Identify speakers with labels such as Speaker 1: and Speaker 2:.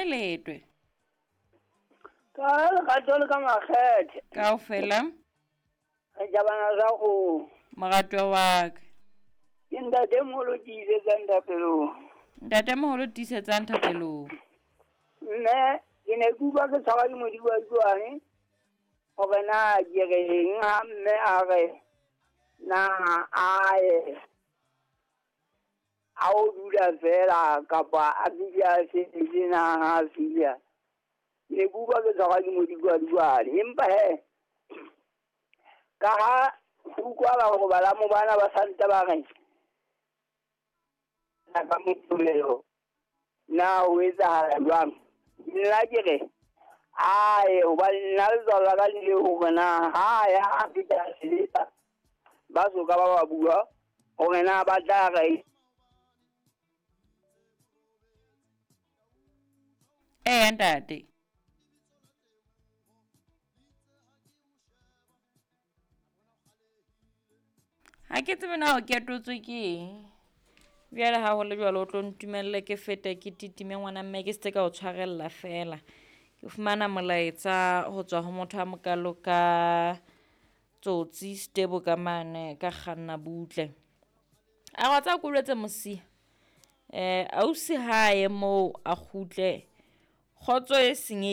Speaker 1: Kae letwe?
Speaker 2: Ka lerato le ka makgethe.
Speaker 1: Kaofela.
Speaker 2: Re jabana sa kgomo.
Speaker 1: Moratwa wa ka.
Speaker 2: Ke ntatemoholo tiisetsang thapelong.
Speaker 1: Ntatemoholo tiisetsang thapelong.
Speaker 2: Mme ke ne ke utlwa ke tshwarwa ke modibaduane hore na ke reng ha mme a re na a ye a o dula fela kapa a fihle a sebetse na ha a fihla. Ke ne ke utlwa ke tshwarwa ke modibaduane empa hee ka ha ho utlwahala hore balamo bana ba santse ba re ka Moqebelo na ho etsahala jwang? Nna ke re aye hobane nna letswalo la ka le ile hore na ha ya a fihla a sebetsa ba soka ba ba bua hore na ba tla re
Speaker 1: Eya ntate. Ha ke tsebe na o ketotswe ke eng. Bjale ha ho le jwalo o tlo ntumelle ke fete ke titime ngwana mme ke se ka o tshwarella fela. Ke fumana molaetsa ho tswa ho motho a mokalo ka Tsotsi Stebo ka mane ka kganna butle. A re wa tseba ke o jwetse mosia, ausi ha ye moo a kgutle, kgotso e senye.